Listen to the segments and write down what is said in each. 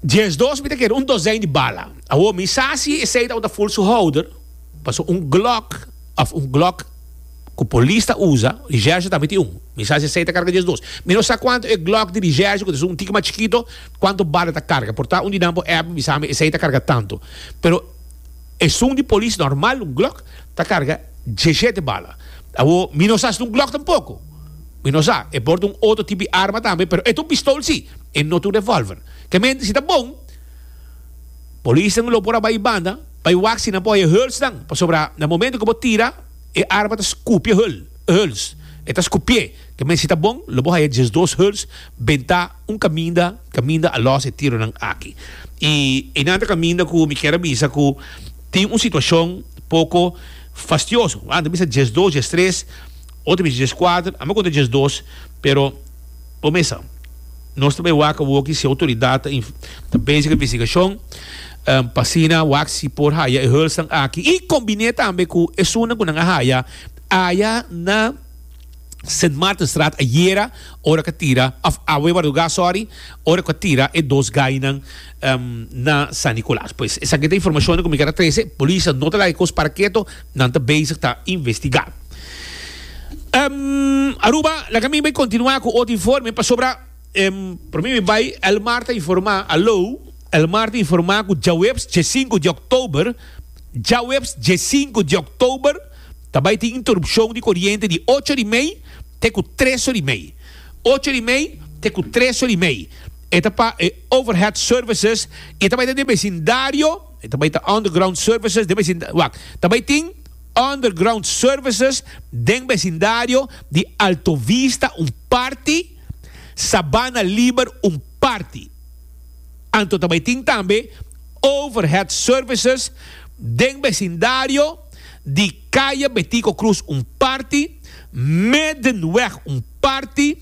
12 mi ta kere un dozijn di bala. Awor mi sa si esei tabata full su houder, paso un Glock of un Glock ku polis ta usa, Recherche tambe tin un. Mi sa si esei ta karga 12. Mi no sa kuantu e Glock di Recherche, ku ta un tiki mas chikito, kuantu bala ta karga. Por ta un di nan por app bisa mi esei ta karga tantu. Pero esun di polis normal, un Glock, ta karga 17 bala. Awor mi no sa si ta un Glock tampoko. Mi no sa. E por ta un otro tipo di arma tambe, pero e ta un pistol si. E no ta un revolver. Ke mente si ta bon, polisnan lo por a bai banda bai wak si nan por haña hulsnan, pasobra na momento ku bo tira e arma ta skupia hul, huls, e ta skupié. Ke mente si ta bon, lo bo haña 12 huls bentá un kaminda, kaminda a lòs e tironan aki. I einan ta kaminda ku mi kier a bisa ku tin un situashon poko fastioso. Nan ta bisa 12, 13, otro bisa 14, ami a konta 12, pero bo mesa. Nos ta bay wak awoki si autoridad ta ta bezig cu investigacion pa asina wak si por haya e hulsnan aki y combine tambe cu esunnan cu nan a haya aya na Sint Maartenstraat ayera ora cu a tira of awe marduga sorry ora cu a tira e dos gainan na San Nicolas. Pues esaki ta informacionnan cu mi kier a trece. Polis no ta laga e cos para keto, nan ta bezig ta investiga. Aruba, laga mi bai continua cu otro informe pasobra prome mi bai Elmar ta informa, alo, Elmar ta informa cu djaweps dje-sinku di oktober, djaweps dje-sinku di oktober ta bai tin interupcion di coriente di ocho di mei te cu tres ora di mei, ocho di mei te cu tres ora di mei. E ta pa e overhead services y e ta bai ta den becindario, e ta bai ta underground services den becindario, wak, ta bai tin. Underground Services den besindario di Alto Vista un parti, Sabana Liber un parti. Anto ta bai tin tambe Overhead Services den besindario di Kaya Betico Cruz un parti, Middenweg un parti,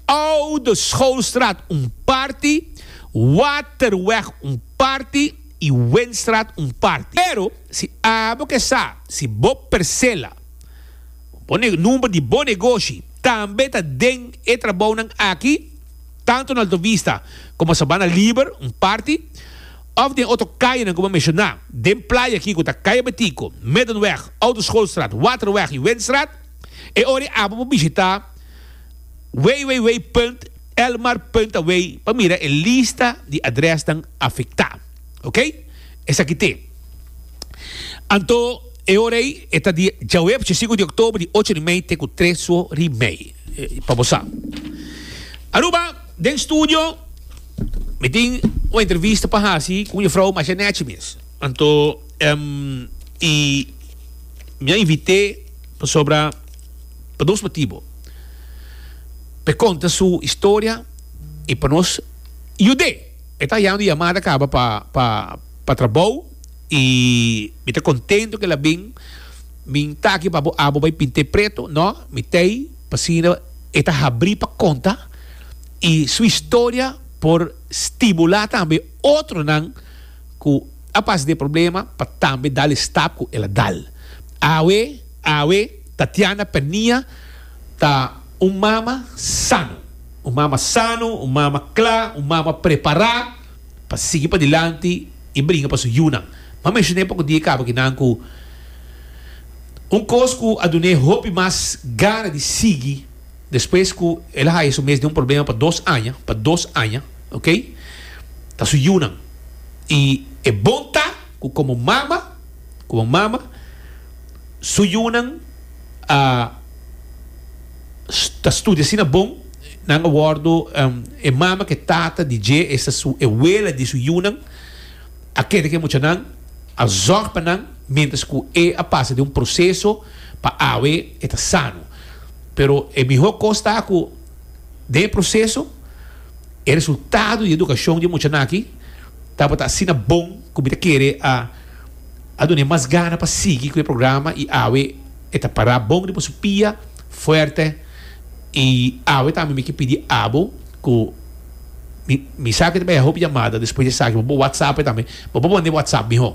Oude Schoolstraat un parti, Waterweg un parti y Windstraat un parti. Pero si abo ke sa si bo persela, bo number di bo negoshi tambe ta den e trabounan aki, tanto na Alto Vista como Sabana Liber, un parti, of den otro kayanan ku bo a menshoná den playa aki ku ta Kaya Betico, Middenweg, Oude Schoolstraat, Waterweg y Windstraat, e ora ei abo por bishitá www.elmar.aw pa mira e lista di adresnan afektá. Ok? Esaki te. Anto e ora ei e ta di djaweps djesinku di oktober di ocho di mei te ku tres ori mei. Pa bo sa. Aruba, den studio mi tin un entrevista pa hasi ku un jefrou masha nechi mes. Anto i mi a invit'é pasobra pa dos motibo. Pa e konta su historia i pa nos yud'é. E ta yando yamada kaba pa pa pa trabou y mi ta contento ke la bin min ta aki pa bo abo bai pinte preto no mi tei pasina e ta habri pa konta y su historia por stimula tambe otronan ku a pasa den problema pa tambe dal e stap ku el a dal awe awe Tatiana Pernia ta un mama sano. Un mama sano, un mama kla, un mama prepará pa sigui padilanti i bringa pa su yunan. M'a menshoné poko dia kaba kinan ku un kos ku a dun'é hopi mas gana di sigui despues ku el a haya su mes den un problema pa dos aña, pa dos aña, ok, ta su yunan. I e bon ta ku komo mama, komo mama, su yunan a. ta studia asina bon, nan a wordo e mama ku e tata di dje, esta su e wela di su yunan, a keda ku e muchanan, a zòrg pa nan mientras ku e a pasa den un proseso pa awe e ta sano. Pero e mihó kos ta ku den e proseso e resultado di edukashon di e muchanan aki tabata asina bon ku mi ta kere a a dun'é mas gana pa sigui ku e programa i awe e ta pará bon riba su pia fuerte i awe tambe mi ke pidi abo ku mi mi sa ke ta bai hopi yamada despues di esaki bo por whatsapp tambe bo por pone whatsapp miho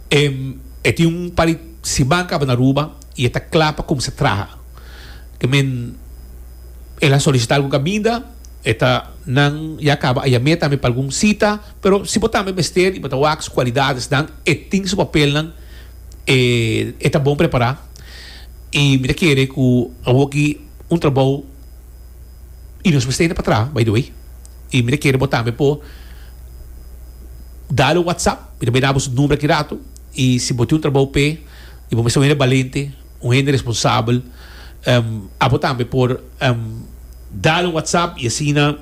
e e tin un par di siman kaba na Aruba i e ta kla pa kumsa traha ke men el a solisita algun kaminda. E ta nan ya caba a yam'é tambe pa algun cita, pero si bo tambe mester y bo ta wak su cualidadesnan, e tin su papelnan, e e ta bon prepara y mi ta kere cu awoki un trabou y nos mester hende pa traha by the way y mi ta kere bo tambe por dal un whatsapp, mi ta bay dabo su number aki rato y si bo tin un trabou p'e y bo mester un hende balente. Un hende responsabel abo tambe por dal un whatsapp y asina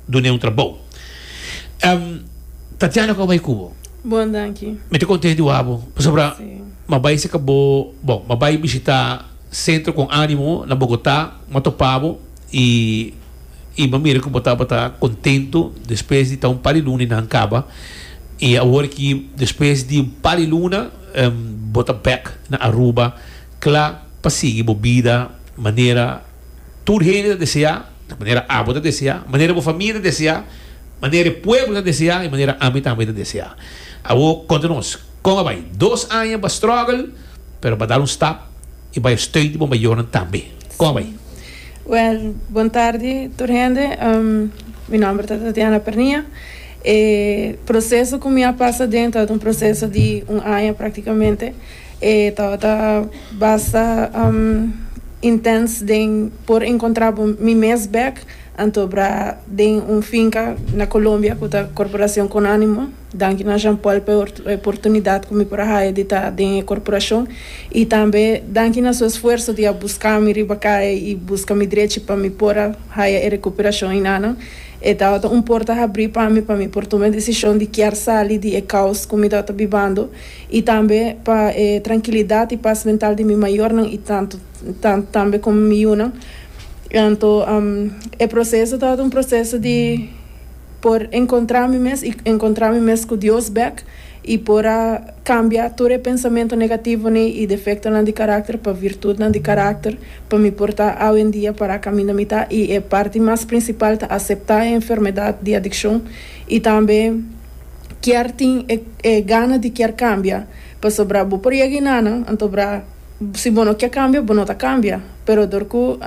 dun'e un trabou. Tatiana como bai cu bo? Bon danki. Mi ta contento di wak bo pasobra m'a bai cerca bo, bon m'a bai bishita Centro Con Animo na Bogota, m'a topa bo y y m'a mira cu bo tabata contento despues di ta un par di luna y nan caba y awor aki despues di un par di luna Bo ta bek na Aruba kla pa sigui bo bida manera tur hende ta deseá, manera abo ta deseá, manera bo famia ta deseá, manera e pueblo ta deseá i manera ami tambe ta deseá. Awor konta nos, kon a bai? Dos aña bo a struggle, pero bo a dal un stap i bai steun di bo mayornan tambe. Kon a bai? Wèl, bon tardi tur hende. Mi nòmber ta Tatiana Pernia. E proceso cu mi a pasa aden tabata un proceso di un aña practicamente. E tabata basta intens den por encontra bo mi mes bek anto bra den un finca na Colombia cu ta Corporacion Con Animo. Danki na Jean Paul pa e oportunidad cu mi por a haya di ta den e corporacion y tambe danki na su esfuerzo di a busca mi riba caya y busca mi drechi pa mi por a haya e recuperacion enanan. E tabata un porta habrí pa mi pa mi por tuma e desishon di kier sali di e kaos ku mi tabata bibando i tambe pa e trankilidat i pas mental di mi mayornan i tantu tambe komo mi yunan. Anto e proseso tabata un proseso di por enkontrá mi mes i enkontrá mi mes ku Dios bèk i por a kambia tur e pensamentu negativonan i defektonan di karakter pa virtutnan di karakter pa mi por ta awendia para kaminda mi ta i e parti mas prinsipal ta aseptá e enfermedat di adikshon i tambe kier tin e e gana di kier kambia pasobra bo por yega enanan anto bra si bo no kier kambia bo no ta kambia pero dor ku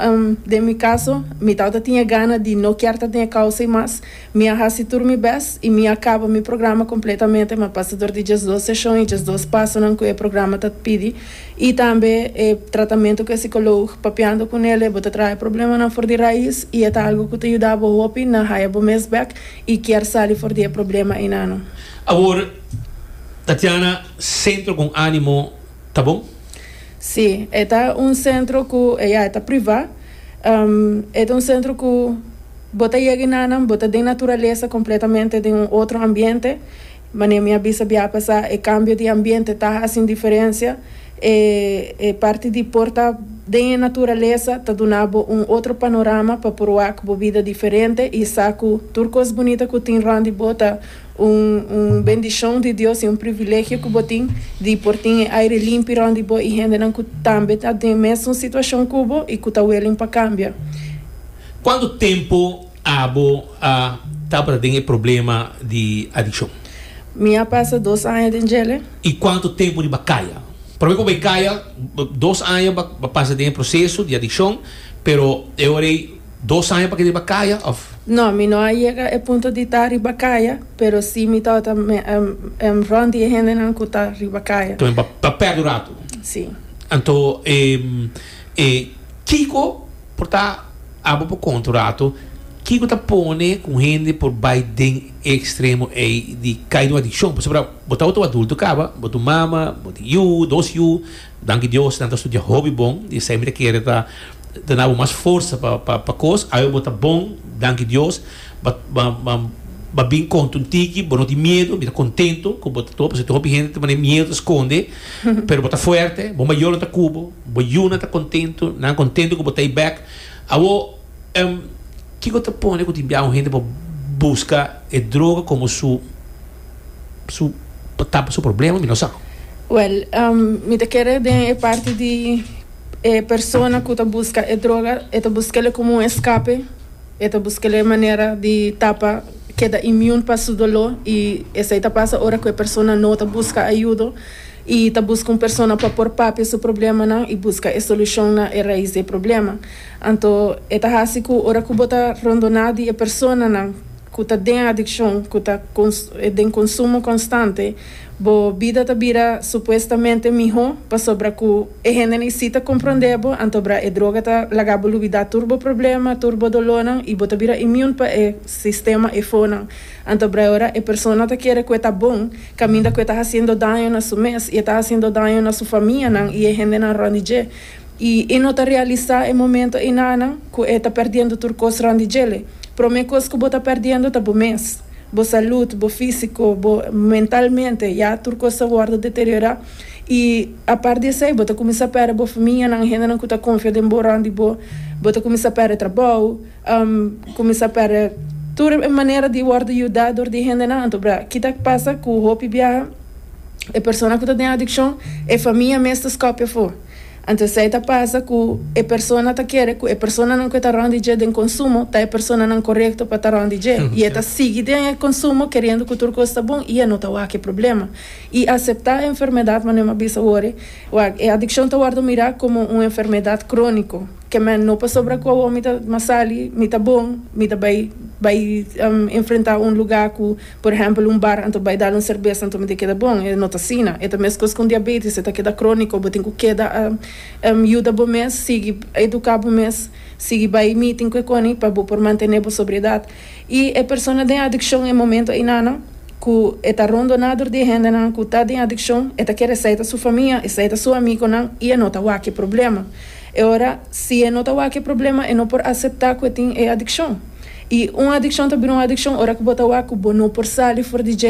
den mi kaso mi tabata tin e gana di no kier ta den e kousa i mas Mi a hasi tur mi bes i mi a kaba mi programa kompletamente. Mi a pasa dor di diesdos seshon i diesdos pasonan ku e programa ta pidi i tambe e tratamentu ku e sikoloog papiando ku nel bo ta traha e problemanan for di rais i e ta algu ku ta yuda bo hopi na haya bo mes bek i kier sali for di e problema einano. Awor, Tatiana, Sentro Con Animo ta bon? Sí, e ta un sentro ku, ya, e ta privá. E ta un sentro ku. Bo ta yega enanan, bo ta den naturalesa completamente den un otro ambiente. Manera mi a bisa bia pasa, e cambio di ambiente ta haci un diferencia. E e parti di por ta den e naturalesa ta duna bo un otro panorama pa por wak bo bida diferente y sa cu tur cos bunita cu tin rond di bo ta un un bendicion di Dios y un privilegio cu bo tin di por tin e aire limpi rond di bo y hendenan cu tambe ta den mesun situacion cu bo y cu ta willing pa cambia. Cuanto tempo abo a tabata den e problema di adiccion? Mi a pasa dos aña den djele. Y cuanto tempo riba caya? Prome cu bay caya, dos aña ba pasa den e proceso di adiccion, pero e ora ey dos aña pa keda riba caya of? No, mi no a yega e punto di ta riba caya, pero si mi tabata rond di e hendenan cu ta riba caya. Tambe ba perde un rato? Si. Anto e kico Por ta abo por konta un rato kiko ta pone ku un hende por bai den e ekstremo ei di kai den un adikshon. Pasobra bo tabata un adulto kaba, bo ta un mama, bo tin yu, dos yu, danki Dios nan ta studia hopi bon, di esei mi ta kere ta duna bo mas forsa pa pa kos. Awe bo ta bon, danki Dios, ba ba bin konta un tiki, bo no tin miedu, mi ta kontento ku bo ta pasobra tin hopi hende ta mane miedu ta skonde, pero bo ta fuerte, bo mayornan ta ku bo. Bo yunan ta kontentu, nan kontentu ku bo ta ei bèk. Awor, kiko ta pone ku tin bia un hende pa buska e droga komo su su pa tapa su problema? Mi no sa. Wèl, mi ta kere den e parti di e persona ku ta buska e droga, e ta busk'el komo un eskape, e ta busk'el e manera di tapa, keda immune pa su doló i esei ta pasa ora ku e persona no ta buska ayudo. I ta buska un persona pa por papia su problemanan i buska e solushon na e rais di e problema. Anto e ta hasi ku ora ku bo ta rondoná di e personanan ku ta den adikshon, ku ta den konsumo konstante, bo bida ta bira supuestamente mihó pasobra ku e hendenan si ta komprondé bo, anto bra e droga ta laga bo lubidá tur bo problema, tur bo dolónan i bo ta bira immune pa e sistema efonan. Anto bra ora e persona ta kere ku e ta bon, kaminda ku e ta hasiendo daño na su mes i e ta hasiendo daño na su famianan i e hendenan rònt di dje. I e no ta realisá e momento einanan ku e ta pèrdiendo tur kos rònt di djele. Promé kos ku bo ta pèrdiendo ta bo mes, bo salud, bo físiko, bo mentalmente, ya tur kos ta wòrdu deteriorá. I apart di esei bo ta kuminsá pèrdè bo famianan, hendenan ku ta konfia den bo rònt di bo, bo ta kuminsá pèrdè trabou. Kuminsá pèrdè tur e manera di wòrdu yudá dor di hendenan. Anto bra, ki ta pasa ku hopi biaha e persona ku ta den adikshon, e famia mes ta skòpia afó. Anto esei ta pasa ku e persona ta kere ku e personanan ku e ta rònt di dje den konsumo ta e personanan korekto pa ta rònt di dje. I e ta sigui den e konsumo keriendo ku tur kos ta bon i e no ta wak e problema. I aseptá e enfermedat, manera mi a bisa wòrdu, wak, e adikshon ta wòrdu mirá komo un enfermedat króniko. Ke men no pasobra ku awor mi ta mas sali, mi ta bon, mi ta bai bai enfrentá un lugá ku, por ehèmpel, un bar, anto bai dal un serbes anto mi ta keda bon. E no ta asina. E ta meskos ku un diabetes, e ta keda króniko. Bo tin ku keda yuda bo mes, sigui eduká bo mes, sigui bai meeting ku e koni pa bo por mantené bo sobriedat. I e persona den adikshon e momento einanan ku e ta rondoná dor di e hendenan ku ta den adikshon, e ta kere esei ta su famia, esei ta su amikonan i e no ta wak e problema. E ora, si e no ta wak e problema, e no por aseptá ku e tin e adikshon. I un adikshon ta bira un adikshon ora ku bo ta wak ku bo no por sali for di dje.